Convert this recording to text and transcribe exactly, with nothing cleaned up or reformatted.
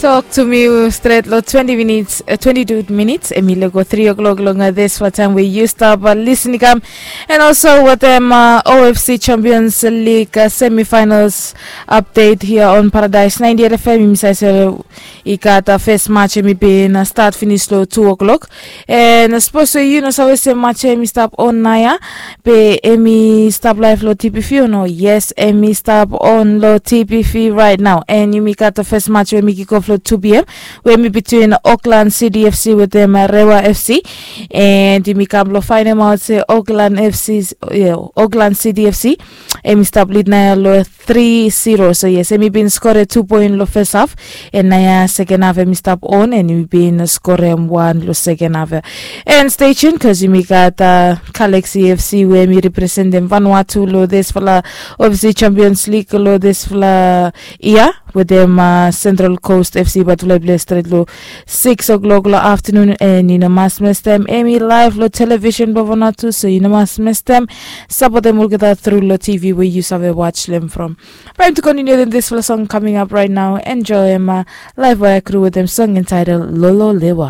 Tok to mi stret long twenti minits, twenti tu minits em i lego tri o'klok long disfala taem we yu stap lisin i kam. And also wetem ofc champions league semifinals update hia on paradise ninety-eight fm, yumi save se i gat fes match em i bin stat finis long tu o'klok. And sapos we yu no save se match em i stap on naoia, be em i stap laef long tpv o no? Yes, em i stap on long tpv right now. And yumi gat fes match we em i kikof long tu pm, we em i between auckland city fc wetem rewa fc. And yumi kam long faenemaot se auckland fc, auckland city fc em i stap lid naoia long tri zero. So yes, em i bin skore tu poen long fes haf. And naoia seken haf em i stap on and em i bin skorem wan long seken haf ya. And stay tune bikos yumi gat galaxy fc we em i representem vanuatu long disfala ofc champions league long disfala yia wetem central coast fc, bat ulae ples stret long six o'clock long aftanun. And yu no mas mestem em i laef long television blong vanuatu, so yu no mas mestem. Sapotem olgeta tru long tv we yu save waj lem from. Baem tu kontiniu wetem disfala song kaming ap rait nao. Enjoem laef we i kru wetem song entitled lolo lewa.